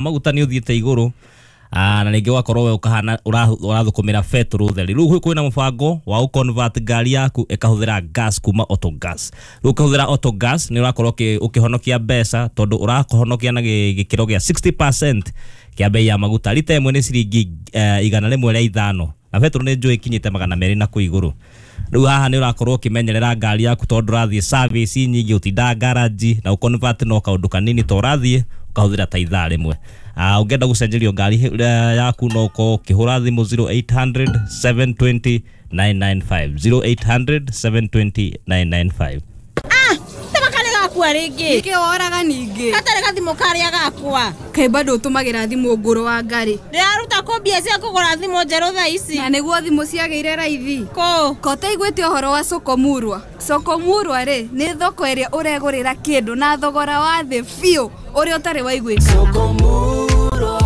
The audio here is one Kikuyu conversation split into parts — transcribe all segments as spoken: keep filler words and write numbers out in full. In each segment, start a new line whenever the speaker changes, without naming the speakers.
Maguta nĩ ũthiĩte igũrũ, ah, na rĩngĩ ũgakorwo we ũkahana ũrathũkũmĩra betũrũ theri. Rĩu kwĩna mũbango wa gũconvert ngari yaku ĩkahũthĩra gas kuma auto gas. Rĩu ũkĩhũthĩra auto gas nĩ ũrakorwo ũkĩhonokia mbeca, tondũ ũrahonokia na gĩkĩro gĩa sixty percent kĩa bei ya maguta. Rita ĩmwe nĩ ciringi uh, igana rĩmwe rĩa ithano, na betũrũ nĩ njũĩ ikinyĩte magana merĩ na kũu igũrũ. Rĩu haha nĩ ũrakorwo ũkĩmenyerera ngari yaku tondũ ũrathiĩ service nyingĩ, ũtindaga garage, na ũconvert no kaũndũ kanini to ũrathiĩ ũkahũthĩra ta ithaa rĩmwe. Ah, ũngĩenda gũcenjerio ngari yaku no ũkorwo ũkĩhũra thimũ zero eight hundred seven twenty nine nine five, zero eight hundred seven twenty nine nine five.
Ah, tabakale gakwa rĩngĩ.
Nĩkĩ woraga ningĩ?
Gatarĩ gathimũ karĩa gakwa.
Kaĩ bado ũtũmagĩra thimũ ngũrũ wa ngari?
Ndĩraruta kũ mbia cia kũgũra thimũ njerũ thaa ici?
Na nĩguo thimũ ciagĩire raithi.
Kũ?
Ko ũtaiguĩte ũhoro wa Soko Murwa? Soko Murwa rĩ, nĩ thoko ĩrĩa ũregũrĩra kĩndũ na thogora wa thĩ biũ ũrĩa ũtarĩ waiguĩkana.
Soko Murwa,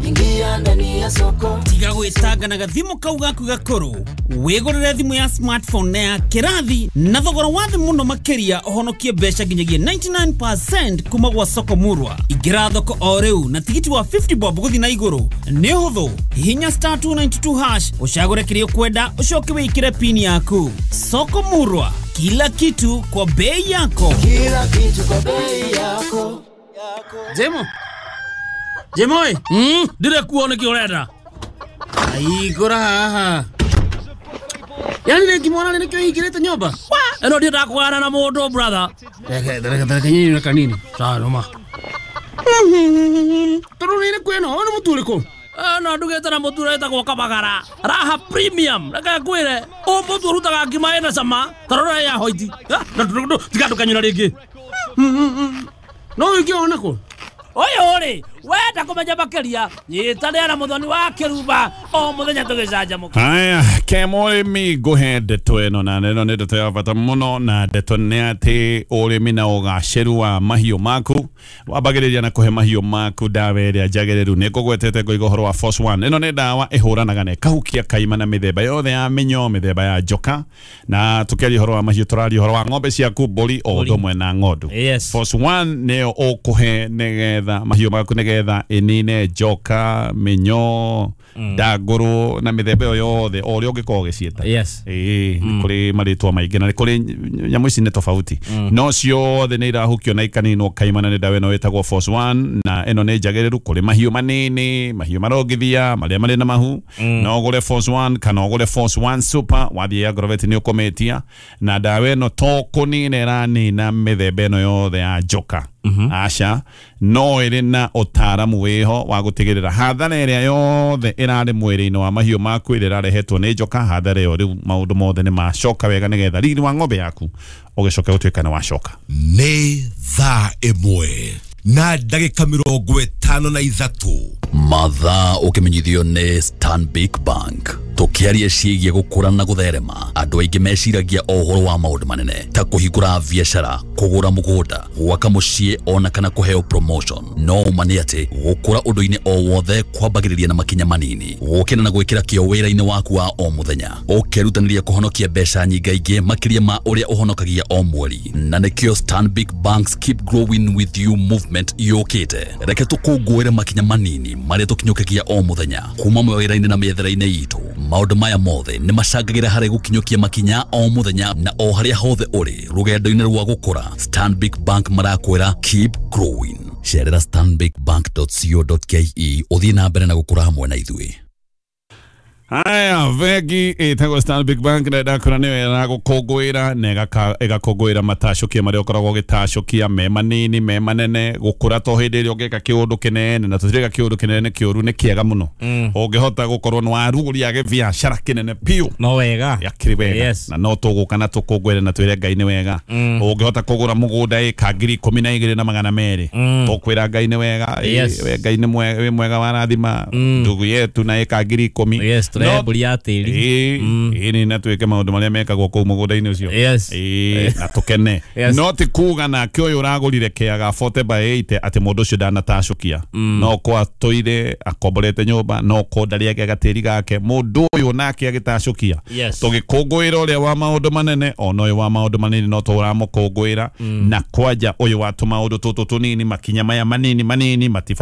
ingia ndani ya soko.
Tiga gwĩtanga na gathimũ kau gaku gakũrũ, wĩgũrĩre thimũ ya smartphone na ya kĩrathi na thogora wa thĩ mũno makĩria, ũhonokie mbeca nginyagia ninety-nine percent kuma gwa Soko Murwa. Ingĩra thoko o rĩu na tigiti wa fifty bob gũthiĩ na igũrũ. Nĩ ũhũthũ, hihinya star two ninety-two hash, ũcagũre kĩrĩa ũkwenda, ũcoke wĩkĩre pin yaku. Soko Murwa, kila kitu kwa bei yako.
Kila kitu kwa bei yako.
Jemo. Jemoi,
mm, ndire kuo nĩkĩ ũrenda?
Aigũra haha. Yaani nĩ ngĩmwona nĩ nĩkĩo hingĩrĩte nyũmba?
Ĩno ndiendaga kũgana na mũndũ brother.
Reke, reke, reke nyinyi kanini.
Sawa noma.
Tondũ nĩ kwĩna, ũyũ nĩ mũtu ũrĩkũ?
No ndugĩte na mũtu ũretagwo Kabagara. Raha Premium. Reke ngwĩre, ũyũ mũtu ũrutaga ngima ĩna cama, ta rora ya hoiti. Tiga ndũkanyũra rĩngĩ.
No ũngĩona kũ?
Ũyũ rĩ, wenda kũmenya makĩria, nyitanĩra na Mũthoni wa Kĩrumba o mũthenya tũgĩcanjamũka.
Haya, kemũrĩmi ngũhe ndeto ĩno, na ĩno nĩ ndeto ya bata mũno, na ndeto nĩ atĩ ũrĩmi na ũgacĩru wa mahiũ maku wambagĩrĩria na kũhe mahiũ maku ndawa ĩrĩa njagĩrĩru. Nĩ ngũgwetete ngoiga ũhoro wa Force One. Ĩno nĩ ndawa ĩhũranaga na ĩkahukia kaima na mĩthemba yothe ya mĩnyoo, mĩthemba ya njoka, na tũkĩaria ũhoro wa mahiũ tũraria ũhoro wa ng'ombe ciaku, mbũri o ũndũ ũmwe na ng'ondu.
Yes.
Force One nĩyo ũkũhe nĩgetha mahiũ maku nĩgetha ĩnine njoka, mĩnyoo, ndangũrũ na mĩthemba ĩyo yothe o ũrĩa ũngĩkorwo ũgĩciĩta.
Yes.
Ĩĩ, nĩ kũrĩ marĩtwa maingĩ na nĩ kũrĩ nyamũ ici nĩ tofauti, no ciothe nĩ irahukio na ikaninwo kaimana nĩ ndawa ĩno ĩtagwo Force One, na ĩno nĩ njagĩrĩru kũrĩ mahiũ manini, mahiũ marongithia, marĩa marĩ na mahu. No ũgũre Force One kana ũgũre Force One Super, wathiĩ Agrovet nĩ ũkũmĩtia, na ndawa ĩno to kũnina ĩranina mĩthemba ĩno yothe ya njoka. Aca, no ĩrĩ na ũtaaramu wĩho wa gũtigĩrĩra hathara ĩrĩa yothe ĩrarĩ mwĩrĩ-inĩ wa mahiũ maku ĩrĩa ĩrarehetwo nĩ njoka, hathara ĩyo rĩu maũndũ mothe nĩ macoka wega nĩgetha riri wa ng'ombe yaku ũgĩcoke gũtuĩka nĩ wacoka.
Nĩ thaa ĩmwe na ndagĩka mĩrongo ĩtano na ithatũ.
Mathaa ũkĩmenyithio nĩ Stanbic Bank. Tũkĩaria ciĩgiĩ gũkũra na gũtherema, andũ aingĩ meciragia o ũhoro wa maũndũ manene ta kũhingũra biacara, kũgũra mũgũnda, gwaka mũciĩ ona kana kũheo promotion. No ũma nĩ atĩ gũkũra ũndũ-inĩ o wothe kwambagĩrĩria na makinya manini, gũkĩra na gwĩkĩra kĩo wĩra-inĩ waku wa o mũthenya, ũkerutanĩria kũhonokia mbeca nyingaingĩ makĩria ma ũrĩa ũhonokagia o mweri. Na nĩkĩo Stanbic Bank's Keep Growing With You movement yũkĩte. Reke tũkũngũĩre makinya manini marĩa tũkinyũkagia o mũthenya kuma mawĩra-inĩ na mĩethere-inĩ itũ. Maũndũ maya mothe nĩ macangagĩra harĩ gũkinyũkia makinya o mũthenya na o harĩa hothe ũrĩ rũgendo-inĩ rwa gũkũra. Stanbic Bank marakwĩra keep growing. Cerera stanbic bank dot co dot ke ũthiĩ na mbere na gũkũra hamwe na ithuĩ.
Haya, bengi ĩtagwo Stanbic Bank na ndakora nĩyo ĩragũkũngũĩra na ĩgakũngũĩra matacũkia marĩa ũkoragwo ũgĩtacũkia me manini me manene. Gũkũra to hĩndĩ ĩrĩa ũngĩka kĩũndũ kĩnene, na tũtirĩka kĩũndũ kĩnene kĩũru nĩ kĩega mũno. Ũngĩhota gũkorwo nĩ warugũria gĩbiacara kĩnene biũ,
no wega,
yakĩrĩ wega.
Yes.
Na no tũgũka na tũkũngũĩre na twĩre Ngai nĩ wega. Ũngĩhota kũgũra mũgũnda ĩka ngiri ikũmi na igĩrĩ na magana merĩ, tũkwĩra Ngai nĩ wega.
Yes.
Ngai nĩ mwega warathima ndugu yetu na ĩka ngiri ikũmi.
Yes. Tũrehe mbũri ya tĩri.
Ĩĩ, ĩĩ, na twĩke maũndũ marĩa mekagwo kũu mũgũnda-inĩ ũcio.
Yes.
Ĩĩ, na tũkene.
Yes.
No ti kuga nake ũyũ ũragũrire kĩaga forty by eighty atĩ mũndũ ũcio ndanatacũkia. No ko atũire akomborete nyũmba, no ko ndarĩ agĩa gatĩri gake, mũndũ ũyũ nake agĩtacũkia.
Yes.
Tũgĩkũngũĩra ũrĩa wa maũndũ manene, ona ũyũ wa maũndũ manini no tũramũkũngũĩra, na kwanja ũyũ wa tũmaũndũ tũtũ tũnini, makinya maya manini manini matibatiĩ.